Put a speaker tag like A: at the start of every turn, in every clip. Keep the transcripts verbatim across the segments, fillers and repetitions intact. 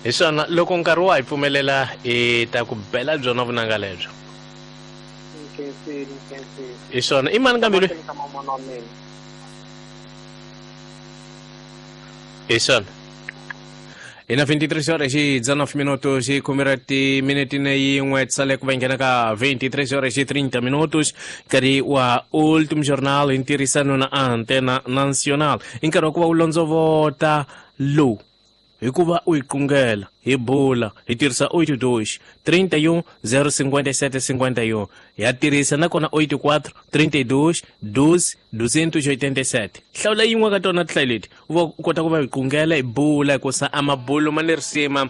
A: Hi swona loko nkarhi wa hi pfumelela hi ta ku bela byona vunanga lebyo.
B: Nkhensile, nkhensile.
A: Hi swona i mani kambe loyi?
B: Mahlweni ka mamana wa mina.
A: Hi swona. Hi na vinte e três horas e dezenove minutos e khume ra timinete na yin'we tisale ku va nghena ka vinte e três horas e trinta minutos, nkarhi wa Último Jornal hi ntirhisano na Antena Nacional. I nkarhi wa ku va u londzovota lowu hikuva u yi qungela hi bula hi tirhisa oito dois trinta e um zero cinquenta e sete cinquenta e um, ya tirhisa nakona oito quatro trinta e dois doze duzentos e oitenta e sete. Hlawula yin'we ka tona tinhlayo leti u va u kota ku va hi qungela hi bula, hikusa a mabulo ma ni risima.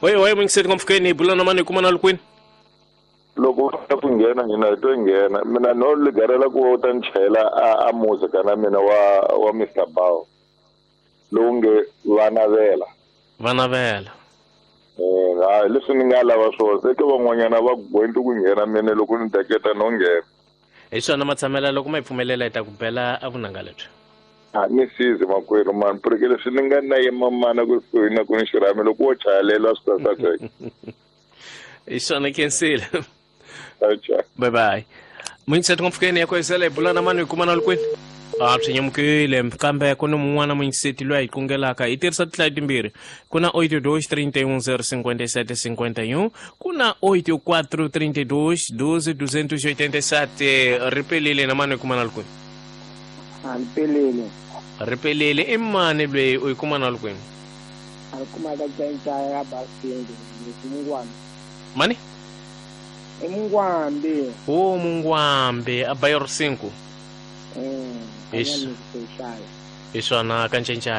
A: Oye oye, mungiseti ngomfukeni, hi bula na mani, hi kuma na lukwini?
C: Loko u fika ku nghena hina hi to nghena, mina no ligarela ku u ta ni chayela a, a muzika na mina wa wa Mister Bow lowu nge va navela.
A: Va navela.
C: Eh, hayi, leswi ni nga lava swona se ke van'wanyana va gwenti ku nghena, mina loko ni teketa no nghena.
A: Hi swona matshamela, loko ma hi pfumelela hi ta ku bela a vunanga lebyi.
C: A ni sizi makwerhu mani, porque leswi ni nga na yimamana kusuhi na ku ni xirhami, loko wo chayelela swi ta saseka.
A: Hi swona, khensile.
C: Acha.
A: Bye bye, muyingiseti ngopfukeni ya kwesela, hi bula na mani, hi kuma na lukwini? A swi nyamukile, kambe ku ni mun'wana muyingiseti loyi a hi qungelaka hi tirhisa tinhlayo timbirhi. Ku na oito dois trinta e um zero cinquenta e sete cinquenta e um, ku na oito quatro trinta e dois doze duzentos e oitenta e sete. Ri pelile na mani, hi kuma na lukwini?
B: A ni pelele.
A: Ri pelele, i mani loyi, u yi kuma na lukwini?
B: A ni kuma ka Ncayncaya ya Basindi, Mungwambi.
A: Mani?
B: I Mungwambi.
A: O Mungwambi a bairro cinco.
B: Eh.
A: Isso.
B: Kanyani.
A: Hi swona, ka Ncencaya.